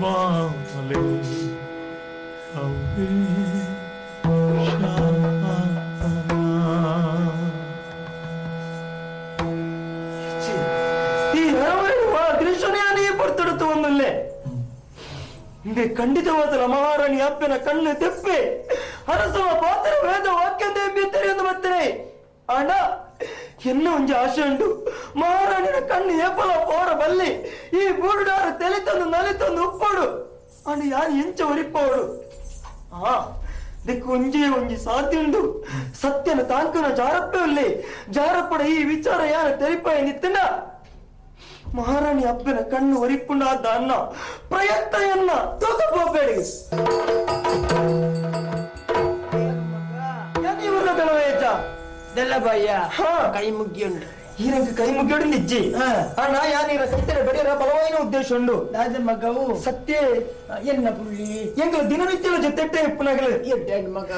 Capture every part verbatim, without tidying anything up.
ಬಾಲೆ ಅವ್ವೇ ಈ ಕೃಷ್ಣನೇ ಪೊರ್ತುಡುತ್ತು ಒಂದುಲ್ಲೆ ಇಂದೆ ಖಂಡಿತವಾದ ಮಹಾರಾಣಿ ಅಪ್ಪನ ಕಣ್ಣು ತೆಪ್ಪೆ ಅರಸುವ ಪಾತ್ರ ವೇದ ವಾಕ್ಯಂತೆ ಎಂದು ಬರ್ತಾರೆ. ಅಣ್ಣ ಎನ್ನ ಒಂಜಿ ಆಶೆ ಉಂಟು, ಮಹಾರಾಣಿನ ಕಣ್ಣು ಏಪಲ ಪೋರ ಬಲ್ಲಿ ಈ ಬೂಡುಡಾರ ತೆಲಿತಂದು ನಲಿತಂದು ಉಪ್ಪೋಡು ಅಣ್ಣ ಯಾರು ಎಂಚ ಒರಿಪೋಡು. ಹಾ ದಿಕ್ಕು ಒಂಜಿ ಒಂಜಿ ಸಾಧ್ಯ ಉಂಡು, ಸತ್ಯನ ತಾಂಕನ ಜಾರಪ್ಪೆ ಉಲ್ಲೆ ಜಾರಪ್ಪಡ ಈ ವಿಚಾರ ಯಾರ ತೆರಿಪಾಯ ನಿತ್ತಂಡ ಮಹಾರಾಣಿ ಅಪ್ಪನ ಕಣ್ಣು ಒರಿಪುಂಡಾದ ಅನ್ನ ಪ್ರಯತ್ನ ಎನ್ನ ತೂಕ ಹೋಗ್ಬೇಡಿ. ಕೈ ಮುಗ್ಗಿಯುಂಡು ಈರಂಗ ಕೈ ಮುಗ್ಗಿಯೋಡು ನಿಜ್ಜಿ ಅಣ್ಣ ಯಾನೀರ ಸೈತರ ಬಡಿಯರ ಬಲವಾಯಿನ ಉದ್ದೇಶ ಉಂಡು. ಮಗವು ಸತ್ಯ ಎನ್ನ ಪುಳ್ಳಿ ಎಂಗ ದಿನನಿತ್ಯದ ಜೊತೆ ಇಪ್ಪುನಗಲು ಮಗ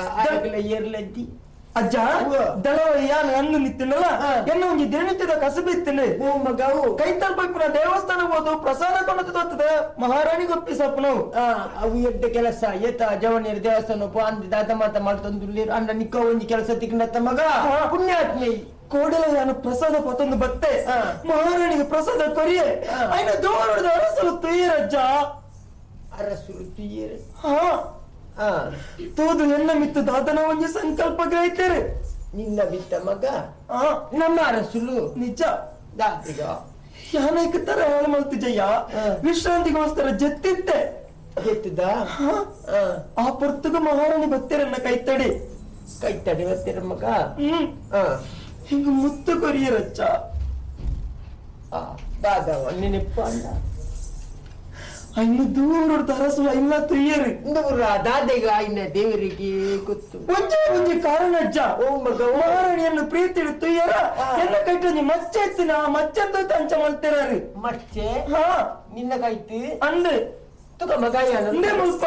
ಏರ್ಲದ್ದಿ ಅಜ್ಜ ದಳವ ಯಾನ್ ಅಂದು ನಿತ್ತಿನಲ್ಲ ಎನ್ನ ಒಂಜಿ ದಿನನಿತ್ಯದ ಕಸಬು ಇತ್ತಿನ ಮಗವು ಕೈತಲ್ ಪೈಪುನ ದೇವಸ್ಥಾನ ಹೋದು ಪ್ರಸಾದ ಕೊಂಡು ತೋರ್ತದೆ ಮಹಾರಾಣಿಗೆ ಒಪ್ಪಿಸಪ್ಪನವು. ಅವು ಎಡ್ಡ ಕೆಲಸ ಏತ ಜವನಿಯರು ದೇವಸ್ಥಾನ ಅಂದ್ ದಾದ ಮಾತ ಮಾಡ್ತಂದು ಅಂಡ ನಿಕ್ಕ ಒಂಜಿ ಕೆಲಸ ತಿಕ್ಕಂಡತ್ತ ಮಗ ಪುಣ್ಯಾತ್ಮೆ. ಕೋಡಲ ಯಾನು ಪ್ರಸಾದ ಪತ್ತೊಂದು ಬತ್ತೆ ಮಹಾರಾಣಿಗೆ ಪ್ರಸಾದ ಕೊರಿಯೆ ಐನ ದೋರದ ಅರಸಲು ತುಯ್ಯರಜ್ಜ ಅರಸುಲು ತುಯ್ಯರೆ. ಹಾ ತೋದು ಎನ್ನ ಮಿತ್ತು ದಾದನ ಒಂಜಿ ಸಂಕಲ್ಪ ಗ್ರಹಿತೇರೆ ನಿನ್ನ ಬಿತ್ತ ಮಗ ನಮ್ಮ ಅರಸುಲು ನಿಜ ಯಾನೈಕ ತರ ಹೇಳ ಮಲ್ತಿಜಯ್ಯ ವಿಶ್ರಾಂತಿಗೋಸ್ಕರ ಜತ್ತಿತ್ತೆ ಜೆತ್ತದ ಆ ಪೊರ್ತುಗ ಮಹಾರಾಣಿ ಬತ್ತೀರನ್ನ ಕೈತಡಿ ಕೈತಡಿ ಬತ್ತೀರ ಮಗ. ಹ್ಮ್ ಹಿಂಗ ಮುತ್ತು ಕೊರಿಯರಚ್ಚ ದಾದವ ನೆನಪ ಅಲ್ಲ ಇನ್ನು ದೂರ ಅರಸುಲ ಇಲ್ಲ ತುಯ್ಯರು ದಾದೆಗ ಆಯ್ನ ದೇವರಿಗೆ ಗೊತ್ತು ಒಂಜೇ ಒಂಜಿ ಕಾರಣ ಅಜ್ಜ ಓ ಮಗ ಮಹಾರಾಣಿಯನ್ನು ಪ್ರೀತಿ ತುಯ್ಯರ ಎಲ್ಲ ಕೈಟೊಂಜಿ ಮಚ್ಚೆ ಎತ್ತಿನ ಆ ಮಚ್ಚೆ ಅಂತ ಅಂಚ ಮಲ್ತಿರಾರು ಮಚ್ಚೆ ಹಾ ನಿನ್ನ ಕೈತು ಅಂದು ತುಕ ಮಗ ಅಂದೇ ಮುಲ್ಪ.